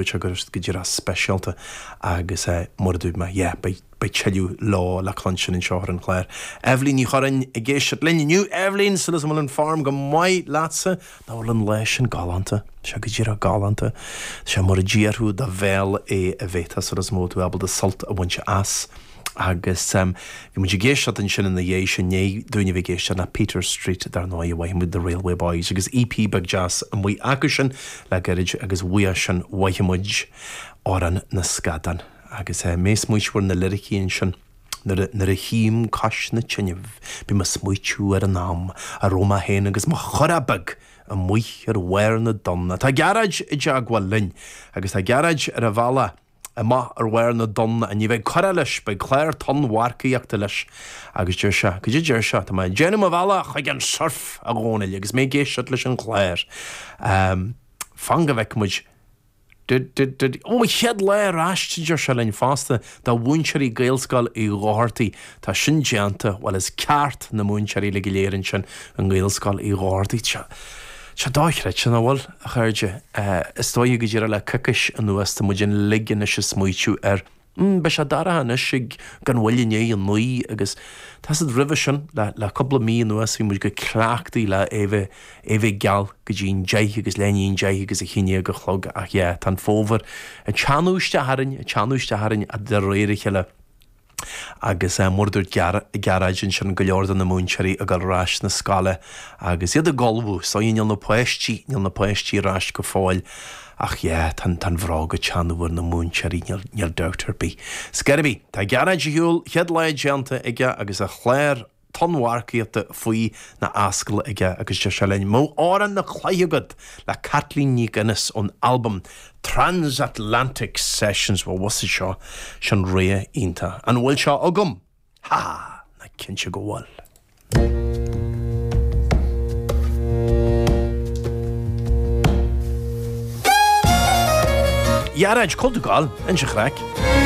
Dúirt sé go raibh siad go díreach speisialta agus mar a dúirt mé, yeah, beidh beidh tuilleadh leo le cluinstin anseo ar an chlár. Eibhlín Ní Churráin ag éisteacht linn inniu. Eibhlín, súil agam go bhfuil an form go maith leatsa. Nach bhfuil an lá sin galánta? Tá sé go díreach galánta. Tá sé mar a d'iarrfadh do bhéal é a bheith. Tá súil agam go bhfuil tú ábalta sult a bhaint as. Agus bhí muid ag éisteacht ansin ina dhiaidh sin, i ndiaidh dúinn a bheith ag éisteacht le Peter Street dar ndóigh, mhaith muid The Railway Boys agus EP beag deas amuigh acu sin le gairid agus uaidh sin mhaith muid Amhrán na Scadán. Agus mé ag smaoitiú ar na liricí ansin, nuair a, nuair a shuím cois na tineadh, bím ag smaoitiú ar an am a raibh mé féin agus mo churach beag amuigh ar bharr na dtonn. Tá Gearóid i dteagmháil linn agus tá Gearóid ar a bhealach amach ar bharr na dtonn, ní bheidh curach leis, beidh clár tonnmharcaíochta leis. Agus deir sé, cad é deir sé, tá mé ag déanamh mo bhealach chuig an surf, a Dhónaill, agus mé ag éisteacht leis an chlár. Fan go bhfeicfidh muid. Did, did, did, ó, chéad lá ar ais, a deir sé linn fosta, do mhúinteoirí Gaelscoil Uí Dhochartaigh. Tá sin déanta, bhuel is ceart na múinteoirí uilig go léir ansin i nGaelscoil Uí Dhochartaigh. Tá sé dochreidte, nach bhfuil, a chairde? Is dóigh go díreach le coicís anuas tá muid uilig anois ag smaoitiú ar, mm, beidh sé dorcha anois ag gan mhoill i ndiaidh a naoi agus tá siad roimhe sin, le, le cúpla mí anuas bhí muid go cleachtaithe le é bheith, é bheith geal go dtí an deich agus leath i ndiaidh an deich agus a haon déag a chlog ach yeah, tá an fómhar ag teannadh isteach orainn, ag teannadh isteach orainn de réir a chéile. Agus mar a dúirt Gearóid ansin, go leor de na múinteoirí ag dul ar ais na scoile agus iad ag ullmhú, so níl na páistí, níl na páistí ar ais go fóill ach yeah, tá an bhróg ag teannadh ar na múinteoirí, níl, níl dabht ar bith. Scor ar bith, tá Gearóid ar shiúl, chéad lá déanta aige agus a chlár tonnmharcaíochta faoi na ascaill aige agus deir sé linn, Mo Amhrán na Cloiche agat le Caitlín Nic Fhionnais ón albam Transatlantic Sessions. Bhuel, bhfuil fhios seo, sin rogha iontach. An bhfuil seo agam? Ha! Ná cinnte go bhfuil. Ghearóid, cá bhfuil tú ag gabháil? Inis an chraic.